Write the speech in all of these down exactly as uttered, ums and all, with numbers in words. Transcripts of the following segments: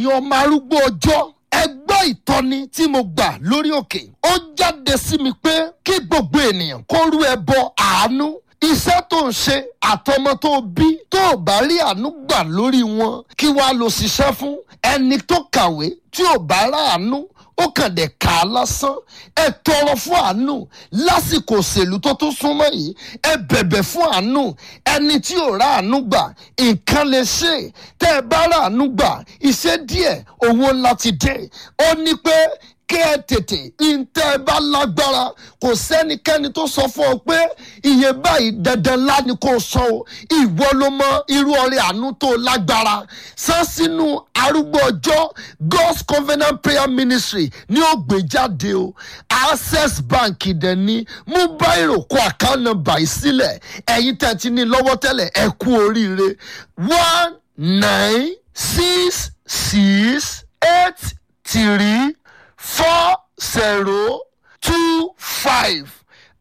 Ẹ̀yin ọmọ arúgbó ọjọ́, ẹ gbọ́ ìtọ́ni tí mo gbà lórí òkè. Ó jáde sí mi pé kí gbogbo ènìyàn kó rú ẹbọ àánú. Iṣẹ́ tó ń ṣe àtọmọ tó bí, tó ò bá rí àánú gbà lórí wọn, kí wàá lọ ṣiṣẹ́ fún? Ẹni tó kàwé tí ò bá ráàánú, ó kàn dé kà á lásán. Ẹ tọrọ fún àánú lásìkò òṣèlú tó tún súnmọ́ yìí. Ẹ bẹ̀bẹ̀ fún àánú. Ẹni tí ò ráàánú gbà, nǹkan lè ṣe. Tẹ́ ẹ bá ráàánú gbà, iṣẹ́ díẹ̀, owó ńlá ti dé. Ó ní pé kí ẹ tètè ntẹ́ ẹ bá lágbára. Kò sẹ́nikẹ́ni tó sọ fún ọ pé iye báyìí dandan ńlá ni kò sọ o. Ìwọ ló mọ irú ọrẹ àánú tó lágbára san sínú Arúgbó Ọjọ́ God's Covenant Prayer Ministry ní ó gbé jáde o. Access Bank dẹ̀ ní. Mú báyìí, kó account number yìí sílẹ̀. Ẹ̀yin tẹ́ ti ní lọ́wọ́ tẹ́lẹ̀, ẹ kú oríire. One nine six six eight three four zero two five,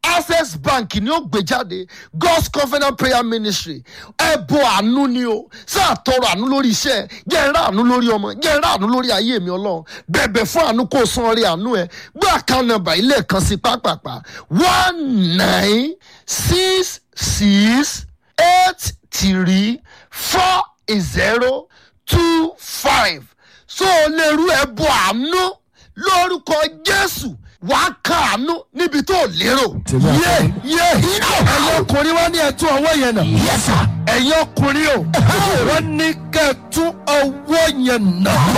Access Bank ni ó gbé jáde, God's Covenant Prayer Ministry. Ẹbọ àánú ni o. Sáà tọrọ àánú lórí iṣẹ́, jẹ́ ń rà àánú lórí ọmọ, jẹ́ ń rà àánú lórí ayé mi. Ọlọ́run, bẹ̀bẹ̀ fún àánú, kó o san ọrẹ àánú ẹ. Gbé account number ilé kan sí pápápá: one nine six six eight three four zero two five. So o lè rú ẹbọ àánú lórúkọ Jésù, wàá kàánú níbi tó lérò. Yé yé, ẹ̀yin ọkùnrin, wá ní ẹ̀tún ọwọ́ yẹn nà. Yes, sir. Ẹ̀yin ọkùnrin o, wọ́n ní kẹ́ ẹ tún ọwọ́ yẹn nà.